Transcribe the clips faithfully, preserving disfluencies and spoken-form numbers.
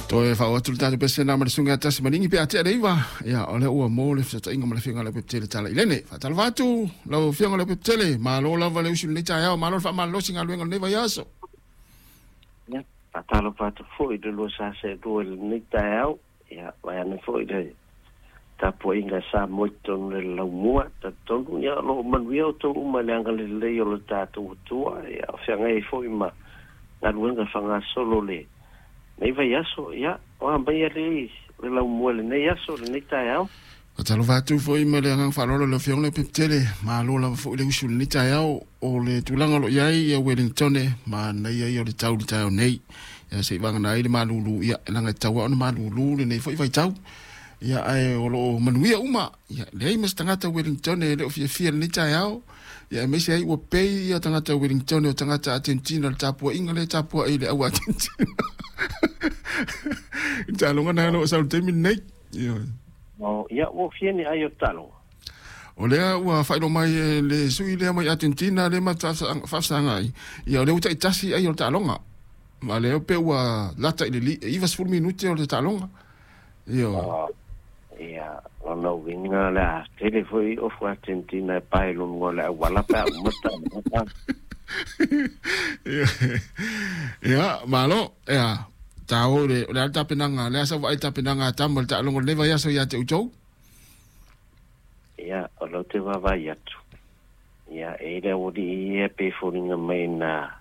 Toe faaoo atu le tatou pesena ma le susuga ia Tasimaligi pe a tea le iva. Ia o lea ua mo le fesootaʻiga ma le afioga Leupepetele Talailene. Faatalofa atu lau afioga Leupepetele, malo lava le usu i lenei taeao, malo le faamalolosi galuega o lenei vaiaso. Ia, faatalofa atu foi i le lua sa seʻelua i lenei taeao, ia vaeane foi le tapuaiga sa mo i totonu le laumua talitonu. Ia o loo manuia outou uma i le agalelei o le tatou Atua, ia o feagai ai foi ma galuega fagasolo le nei vaiaso. Ia o a mai alei le laumua lenei aso lenei taeao. Faatalofa atu foi ma le agaga faaaloalo i le afioga Leupepetele, malo lava foi le usu i lenei taeao. O le tulaga o loo i ai ia Wellington manaia ia o le tau i le taeao nei. Ia seʻi vagana ai le malūlū, ia leaga e tatau ona malūlū lenei foi vaitau. Ia ae o loo manuia uma. Ia leai ma se tagata Wellington e le o fiafia lenei taeao. Ia aemaise ai ua pei ia tagata Wellington o tagata Argentina le tapuaiga le tapuai i le au Argentina. I le taaloga na o loo sau i le taimi lenei. Ia. O ia ua fia ni ai o talo. O lea ua faailoa mai e le sui lea mai Argentina le ma faafesagai. Ia o lea ua taitasi ai o le taaloga. Ma lea pe ua lata i le ivasefulu minute o le taaloga. Ia. Ia, lona uiga le a tele foi ofu Argentina e pae lona le auala pe a uma taaloga. Ia, malo, ia. Tao le o le a le tapenaga, le a sau vaai tapenaga a tama le taaloga o lenei vaiaso ia te outou. Ia, o lau te vaavaai atu. Ia, e le auali'i ia pe foliga mai na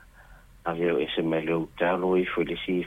ave o ese mai le outalo ifo i le isi.